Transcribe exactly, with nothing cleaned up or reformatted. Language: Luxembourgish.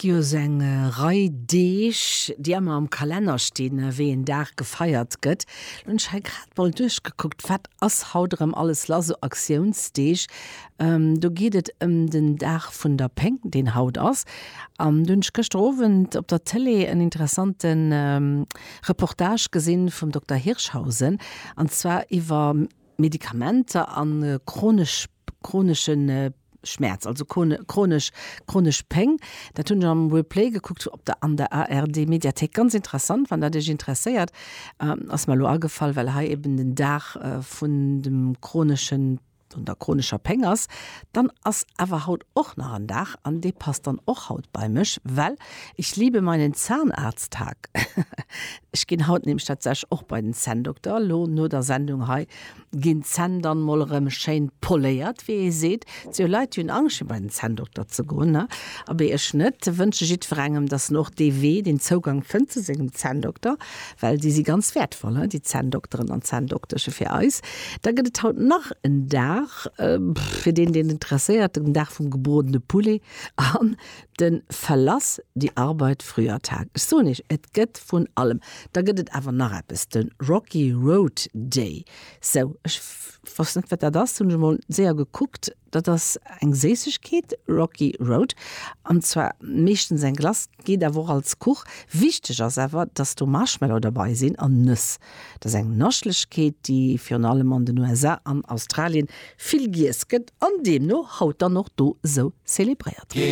gi jo sou eng Rei Deeg, déi ëmmer am Kalenner stinn, wéi een Dag gefeiert gëtt. Lo hunn ech hei grad mol duerchgekuckt, wat ass haut erëm alles lass, sou Aktiounsdeeg. Do geet et ëm den Dag vun der Péng, deen haut ass. An do hunn ech gëschter Owend op der Tëlee en interessante Reportage gesinn vum Dokter Hirschhausen, an zwar iwwer Medikamenter a chronesch, chronesche Schmerz, also chronesch, chronesch Péng. Dat hunn ech am Replay gekuckt op der, an der A R D-Mediathéik. Ganz interessant, wann dat Iech interesséiert. Ass mer elo agefall, well hei eben den Dag vun dem chroneschen, vun der chronescher Péng ass. Dann ass awer haut och nach en Dag, an dee passt dann och haut bei mech, well ich liebe meinen Zahnarzttag. Ech ginn haut nämlech tatsächlech och bei den Zänndokter. Elo no der Sendung hei ginn d'Zänn dann mol erëm schéin poléiert, wéi ee seet. Et si jo Leit, déi hunn Angscht fir bei den Zänndokter ze goen, ne? Abee, ech net. Wënsche jiddwerengem, dass en och dee Wee, deen Zougang fënnt zu sengem Zänndokter, well déi si ganz wäertvoll, ne, déi Zänndokteren an Zänndokteschen fir eis. Da gëtt et haut nach en Dag, fir deen, deen et interesséiert, den Dag vum gebrodene Poulet an de Verlass die Arbeit früher Tag. Ech soen iech, et gëtt vun allem. Da gëtt et awer nach eppes, de Rocky Road Day. Sou, ech wosst net, wat dat ass, hunn ech emol séier gekuckt. Dat ass eng Séissegkeet, Rocky Road, an zwar meeschtens eng Glace, geet awer och als Kuch. Wichteg ass awer, dass do Marshmallow derbei sinn an Nëss. Dat ass eng Naschlechkeet, déi virun allem an den U S A an Australien vill giess gëtt an deemno haut dann och do sou zelebréiert gëtt.